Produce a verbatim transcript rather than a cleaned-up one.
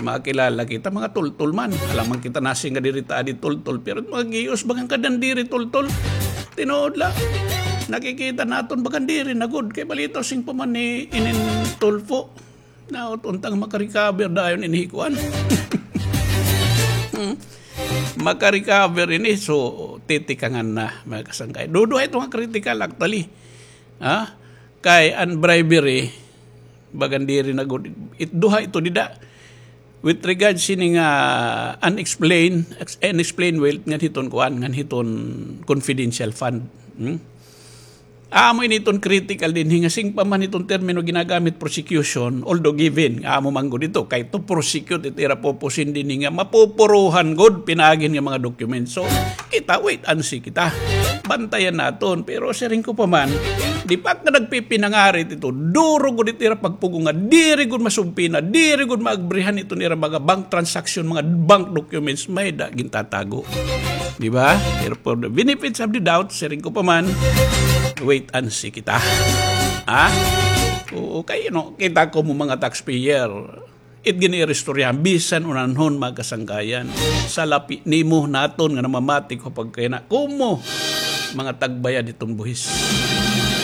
Makilala kita, mga tultol man. Alangan kita nasiring nga diri ta adi tultol, pero mga giyos, bagan ka diri tultol. Tinuod la. Nakikita naton, bagan diri na gud. Kay balitaw, siring pa man ni inin Tulfo. Naot unta nga makarecover dayon ini kuan. Hmm. Makarecover ini, so titikangan na, mga kasangkay. Duduha ito nga critical, actually. Ha? Kay an bribery, bagan diri na gud. It, duha ito dida. With regards sini nga unexplained, ex-, unexplained wealth ngan hiton kuan, ngan hiton confidential fund. Hmm? Amo ini iton critical dinhi nga siring pa man iton termino ginagamit prosecution, although given, nga amo man gud ito, kay to prosecute it ira pupusin dinhi nga mapupuruhan gud pinaagi nga mga documents. So, kita, wait and see kita. Bantayan naton. Pero siring ko pa man, di pa ka nagpipinangarit ito, duro gud it ira pagpugo nga diri gud masubpina, diri gud maabrihan iton ira mga bank transaction, mga bank documents, may da gintatago. Di ba? Pero for the benefits of the doubt, siring ko pa man, wait and see kita. Ha? Oo, kay, you know, kita ko mo mga taxpayer. It gini ira istoryahan, bisan unanhon, mga kasangkayan. Salapi nimo naton nga namamati ko pagkayana. Kumo, mga tagbayad iton buhis.